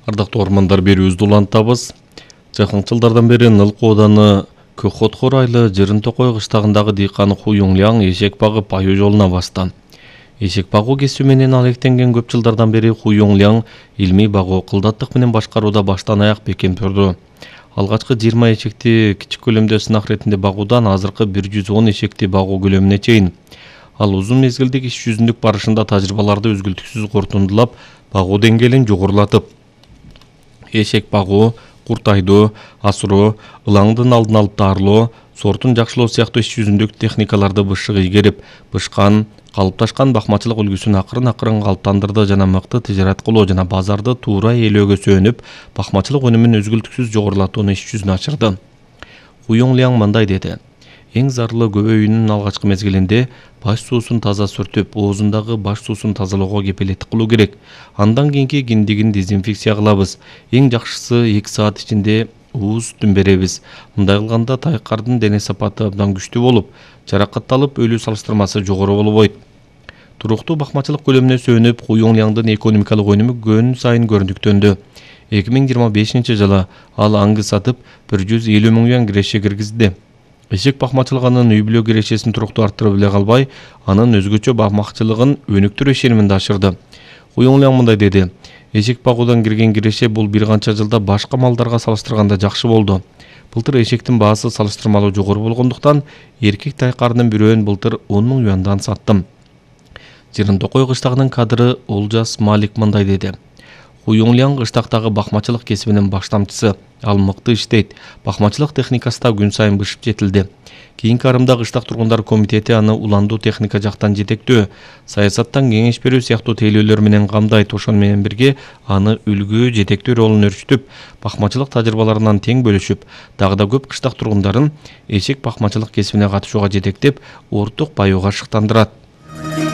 Ардактуу ормандар берүүбүздү улантабыз. Жакынкы жылдардан бери Нылкы ооданы Көкхотхор айлы Жырын Токой кыштагындагы дыйкан Ху Юңляң эшек багып аюу жолуна басты. Эшек багуу кесиби менен алектенген көп жылдардан бери Ху Юңляң илмий багуу кылдаттык менен башкарууда баштан аяк бекем турду. Алгачкы 20 эшекти кичик көлөмдө сынак иретинде багуудан азыркы 110 эшекти багуу көлөмүнө чейин. Ал узун мезгилдик иш жүзүндүк барышында тажрыйбаларды үзгүлтүксүз корутундулап, багуу деңгээлин жогорулатып, эшек багуу, курт айдоо, асыроо, ылаңдын алдын алып дарылоо, сортун жакшылоо сыяктуу иш жүзүндүк техникаларды бышык ийгерип, бышкан, калыпташкан бакмачылык үлгүсүн акырын калыптандырды жана мыкты тижарат кылуу жана базарды туура ээлөөгө сөөнүп, бакмачылык өнүмүн үзгүлтүксүз жогорулатууну иш жүзүнө ачырды. Ху Юңляң мындай деди: эң зарылы көбөйүүнүн алгачкы мезгилинде баш суусун таза сүртүп, оозундагы баш суусун тазалоого кепилеттик кылуу керек. Андан кийинки киндигин дезинфекция кылабыз. Эң жакшысы 2 саат ичинде ууз сүтүн беребиз. Мындай кылганда тайкардын дене сапаты абдан күчтүү болуп, жаракатталып өлүү салыштырмасы жогору болбойт. Туруктуу бакмачылык көлөмүнө сөөнүп, Ху Юңляңдын экономикалык өнүмү күн сайын көрүнүктөндү. 2025 жылы ал аңгы сатып 150 миң юан киреше киргизди. Эшек бакмачылыгынын үй-бүлө кирешесин туруктуу арттырып эле калбай, анын өзгөчө бакмакчылыгын өнүктүрүү ишениминде ашырды. Ху Юңляң мындай деди: эшек багуудан кирген киреше бул бир канча жылда башка малдарга салыштырганда жакшы болду. Былтыр эшектин баасы салыштырмалуу жогору болгондуктан, эркек тайкардын бирөөн былтыр 10 миң юандан саттым. Жырын Токой кыштагынын кадыры Олжас Малик мындай деди: Ху Юңляң кыштактагы бакмачылык кесибинин баштамчысы. Ал мыкты иштейт. Бакмачылык техникасы да күн сайын бышып жетилди. Кийинки арымда кыштак тургундар комитети аны уландуу техника жактан жетектөө, саясаттан кеңеш берүү сыяктуу тейлөөлөр менен камдайт. Ошону менен бирге аны үлгү жетектөө ролун өрчүтүп, бакмачылык тажрыйбаларынан тең бөлүшүп, дагы да көп кыштак тургундарын эшек бакмачылык кесибине катышууга жетектеп, орток баюуга шыктандырат.